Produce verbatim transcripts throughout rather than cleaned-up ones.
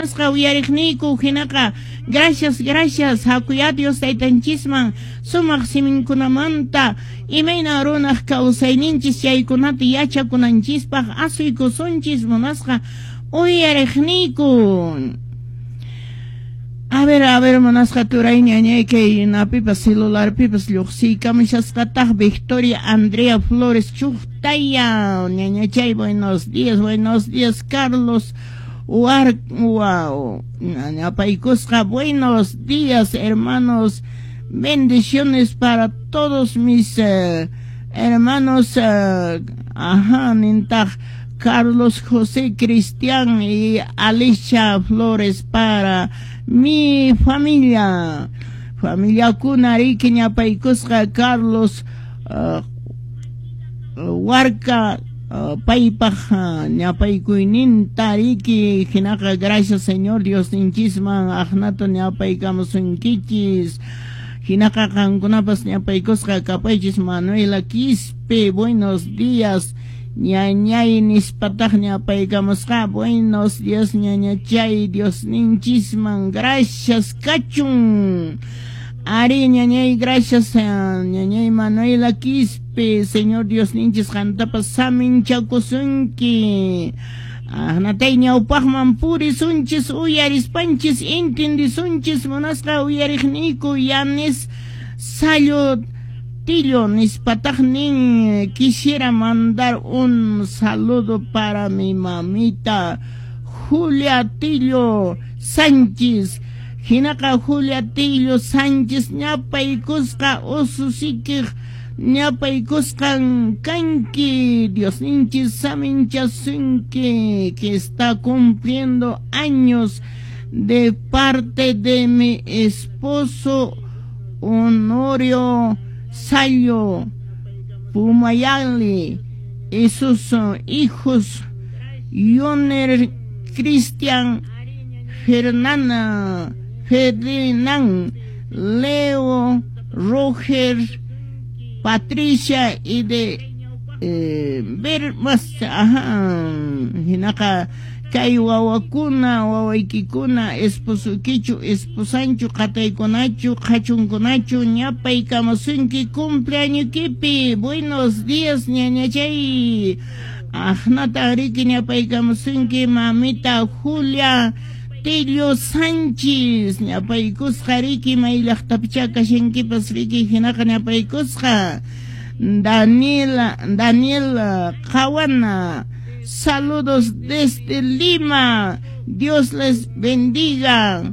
Munasqa uyariqniyku, hinaqa gracias, gracias. Hakuya Dios taytanchisman sumaq siminkunamanta imayna runaq kawsayninchis chaykunata yachakunanchispaq asuykusunchis, munasqa uyariqniyku. A ver, a ver, munasqa turay ñañay, kay napipas celularpipas lluqsiykamushasqataq Victoria Andrea Flores Chuqtaya ñañachay, buenos días, buenos días. Carlos War, wow, ñapaykusqa, buenos días, hermanos, bendiciones para todos mis eh, hermanos, eh, ajá, nintaq Carlos José Cristian y Alicia Flores para mi familia. Familiakuna riki ñapaykusqa Carlos uh, Warka uh, paypaq uh, ñapaykuyninta riki. Hinaqa gracias Señor Diosninchisman aqnata ñapaykamusunkichis. Hinaqa qankunapas ñapaykusqa kapaychis. Manuela Quispe, buenos días, ñañay nispataq ñapaykamusqa. Buenos días, ñañachay, Diosninchisman gracias kachun. Ari, ñañay, gracias, ñañay Manuela Quispe. Señor Diosninchis qantapas saminchakusunki. Ahnatay ñawpaqman purisunchis, uyarispanchis entendisunchis. Munasqa uyariqniyku, Yanes Sayo Tillo nispataq nin: quisiera mandar un saludo para mi mamita Julia Tillo Sánchez. Hinaqa Julia Tillo Sánchez ñapaykusqa ususikiq ñapaykusqan kanki. Diosninchis saminchasunki, que está cumpliendo años, de parte de mi esposo Honorio Sayo Pumayali y sus hijos Yoner Cristian, Fernanda, Ferdinand, Leo, Roger, Patricia y de eh, ver más, ajá, hinaqa kay wawakuna, wawaykikuna, esposukichu, esposanchu, qataykunachu, qhachunkunachu ñapaykamusunki cumpleañoykipi. Buenos días, ñañachay. Aqnata riki ñapaykamusunki mamita Julia Tillo Sánchez, ñapaykusqa riki may llaqtapicha kashankipas riki. Hinaqa ñapaykusqa Daniela, Daniel Kawana, saludos desde Lima. Dios les bendiga.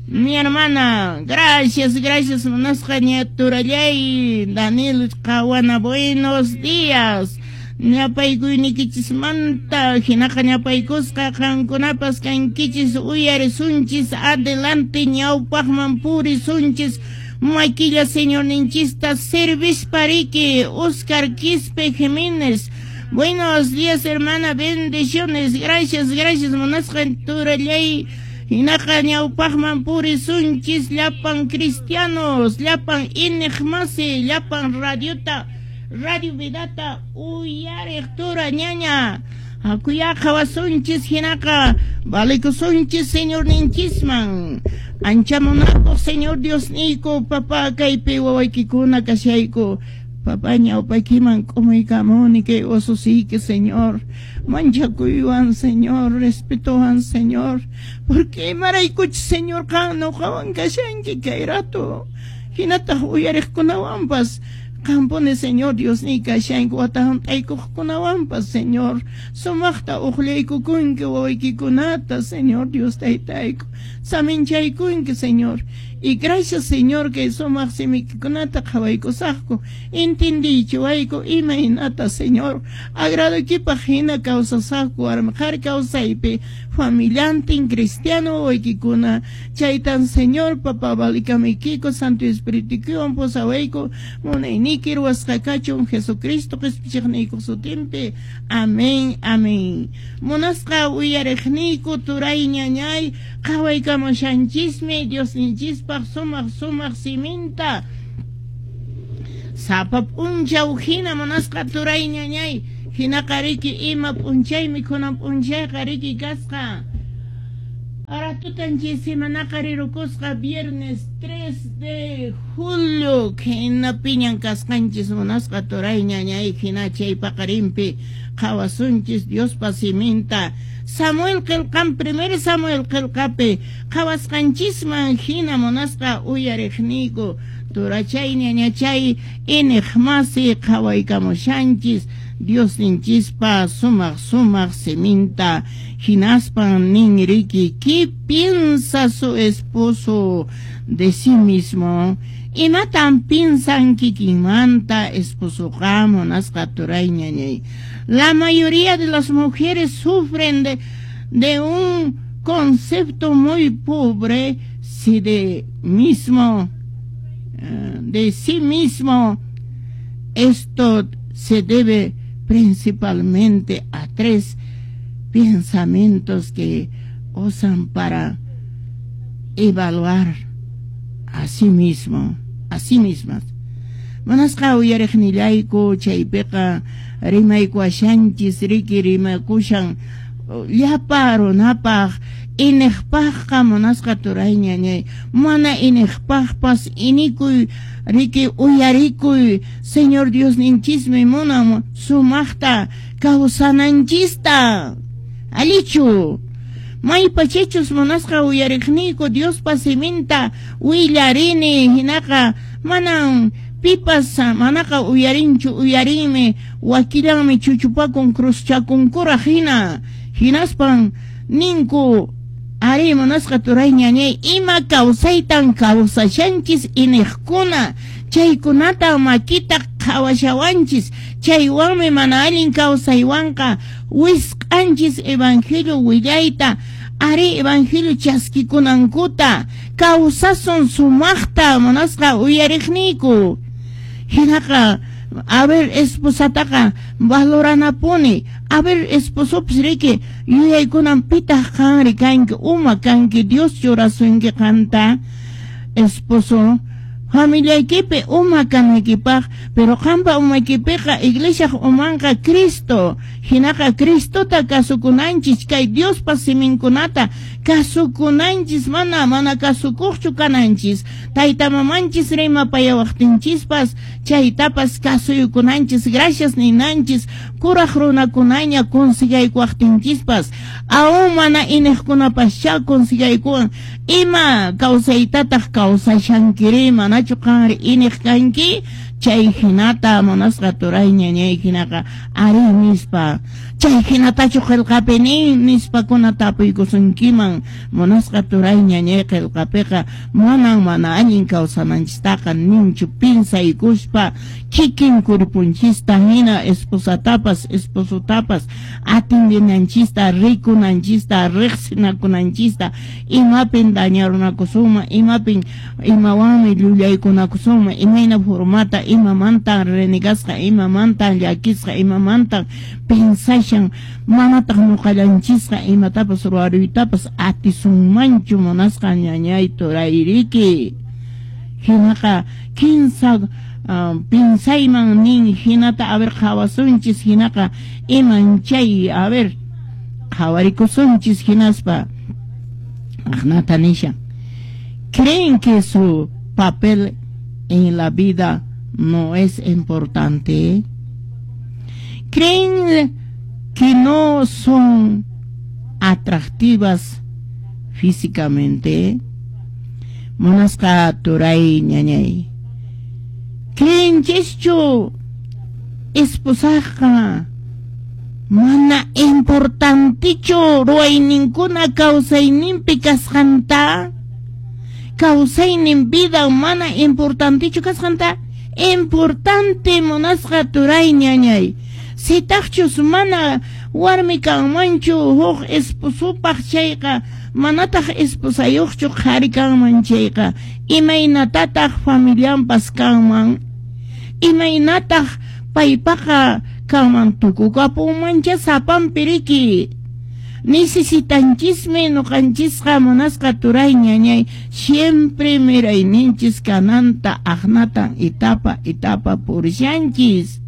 Mi hermana, gracias, gracias, munasqa ñaturallay Daniel Kawana, buenos días. Ñapaykuyniykichikmanta hinaqa ñapaykusqa qankunapas kankichis. Uyarisunchis, adelante, ñawpaqman purisunchis makilla Señorninchista servispa riki. Oscar Quispe Jiménez, buenos días, hermana, bendiciones. Gracias, gracias, munasqa turallay. Hinaqa ñawpaqman purisunchis llapan cristianos, llapan iñiqmasi, llapan radiota, Radio Vidata uyariq tura ñaña. Hakuya qhawasunchis, hinaqa valikusunchis Señorninchisman. Ancha munakuq Señor Diosniyku, papá, kaypi wawaykikuna kashayku. Papá, ñawpaykiman k'umuykamuni kay ususiyki, Señor. Manchakuywan, Señor, respetowan, Señor. Porque imaraykuchus, Señor, qan nuqawan kashanki kay rato. Hinataq uyariqkunawanpas qampuni, Señor Diosniy, kashanki wata hunt'aykuqkunawanpas, Señor. Sumaqta uqllaykukunki wawaykikunata, Señor Dios taytayku. Saminchaykunki, Señor. Y gracias, Señor, que sumaq simikikunata qhawaykusaqku. Entendiychiwayku imaynata, Señor, agradoykipaq hina kawsasaqku warmi qhari kawsaypi familiantin cristiano wawaykikuna. Chaytan, Señor, papá, valikamaykiku, Santo Espiritukiwan pusawayku. Munayniyki ruwasqa kachun Jesucristo qispichiqniykuq sutinpi. Amén, amén. Munasqa uyariqniyku turay ñañay, qhawaykamushanchismi Diosninchispaq sumaq sumaq siminta sapa p'unchaw hina, munasqa turay ñañay. Hinaqa riki ima p'unchaymi kunan p'unchayqa riki kasqa. Aratutanchis semanaqa rirukusqa viernes tres de julio hinapiñan kasqanchis munasqa turay ñañay hina chay paqarinpi qhawasunchis Diospa siminta Samuel qillqan primer Samuel qillqapi qhawasqanchisman hina munasqa uyariqniyku turachay ñañachay iniq masi qhawaykamushanchis Diosninchispa sumaq sumaq siminta hinaspan nin riki ¿qué piensa su esposo de sí mismo? Imatan piensan kikinmanta esposoqa munasqa turay ñañay. La mayoría de las mujeres sufren de, de un concepto muy pobre si de mismo de sí mismo. Esto se debe principalmente a tres pensamientos que usan para evaluar a sí mismo, a sí mismas. Munasqa uyariqnillayku chaypiqa rimaykuashanchis riki rimakushan llapa runapaq iniqpaqqa munasqa turay ñañay mana iniqpaqpas inikuy riki uyarikuy Señor Diosninchismi munan sumaqta kawsananchista allichu maypachachus munasqa uyariqniyku Diospa siminta willarini hinaqa manan pipas manaqa uyarinchu uyarinmi wakillanmi chuchupakun cruzchakunkuraq hina hinaspan ninku ari munasqa turay ñañay ima kawsaytan kawsashanchis iniqkuna chaykunata makita qhawashawanchis chaywanmi mana allin kawsaywanqa wisq'anchis evangelio willayta ari evangelio chaskikunankuta kawsasun sumaqta munasqa uyariqniyku hinaqa a ver esposataqa valoranapuni a ver esposopas riki yuyaykunan pitaq qanri kanki uma kanki Dios churasunki qanta esposo familiaykipi uma kanaykipaq pero qampa umaykipiqa iglesiaq umanqa Cristo hinaqa Cristota kasukunanchis kay Diospa siminkunata kasukunanchis mana mana kasukuqchu kananchis tayta mamanchis rimapayawaqtinchispas chaytapas kasuykunanchis gracias ninanchis kuraq runakunaña consigaykuwaqtinchispas aún mana iniqkunapascha consigaykuwan ima kawsaytataq kawsashankiri manachu qanri iniq kanki chay hinata munasqa turay ñañay hinaqa ari nispa chay hinatachu qillqapi nin nispakuna tapuykusunkiman munasqa turay ñañay qillqapiqa manan mana allin kawsananchistaqa ninchu pinsaykuspa kikin kurpunchista hina esposatapas esposotapas atendinanchista rikunanchista riqsinakunanchista imapin dañarunakusunman imapin imawanmi llullaykunakusunman imayna formata imamantan renegasqa imamantan llakisqa imamantan pensashan manataq ñuqallanchisqa imatapas ruwaruytapas atisunmanchu munasqa ñañay turayriki hinaqa kinsa uh, pinsayman nin hinata a ver qhawasunchis hinaqa iman chay a ver qhawarikusunchis hinaspa aqnata nishan creen que su papel en la vida no es importante? ¿Creen que no son atractivas físicamente? Munasqa turay ñañay ¿Creenchischu esposaqa mana importantichu ruwayninkuna kawsayninpi kasqanta? Kawsaynin vida mana importantichu kasqanta? Importante munasqa turay ñañay sitaqchus mana warmi kanmanchu huk esposopaq chayqa manataq esposayuqchu qhari kanman chayqa imaynatataq familianpas kanman imaynataq paypaqa kanman tukukapunmancha sapanpi riki necesitanchismi ñuqanchisqa munasqa turay ñañay siempre mirayninchis kananta aqnatan etapa etapa purishanchis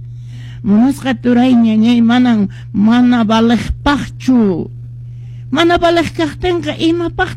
munasqa turay ñañay manan mana valeqpaqchu Mana valeq kaqtinqa, imapaqtaq